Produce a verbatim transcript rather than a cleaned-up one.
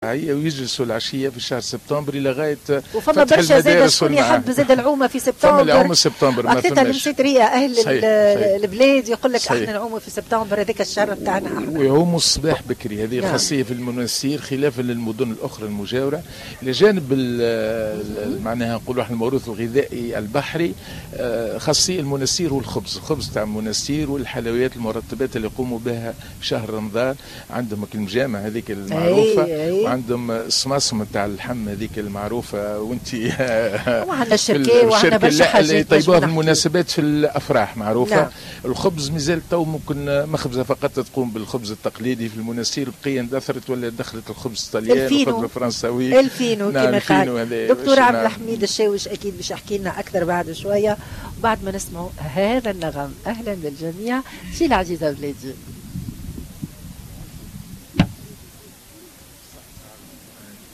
ويجلسوا العشية في شهر سبتمبر الى غاية وفما برشا زاد شكون يحب زاد العومه في سبتمبر. فما العومه في سبتمبر. ما فماش المسيتريه اهل صحيح. البلاد يقول لك احنا نعوموا في سبتمبر، هذاك الشهر بتاعنا احنا. ويعوموا الصباح بكري، هذه نعم. خاصية في المنستير خلافا للمدن الاخرى المجاوره. الى جانب معناها نقولوا احنا الموروث الغذائي البحري، خاصية المنستير والخبز، الخبز تاع المنستير والحلويات المرطبات اللي يقوموا بها في شهر رمضان. عندهم المجامع هذيك المعروفه، أي أي. وعندهم الصماصم تاع اللحم هذيك المعروفه، وانت وعندنا الشركة وعندنا برشا حاجات اللي يطيبوها في المناسبات في الافراح معروفه. نعم. الخبز مازال تو ممكن مخبزه فقط تقوم بالخبز التقليدي في المنستير، بقية اندثرت ولا دخلت الخبز الطلياني والخبز الفرنساوي الفينو. نعم، كما قال دكتور عبد الحميد الشاوش، اكيد باش يحكي لنا اكثر بعد شويه، بعد ما نسمعوا هذا النغم. اهلا بالجميع في العزيزة بلادي.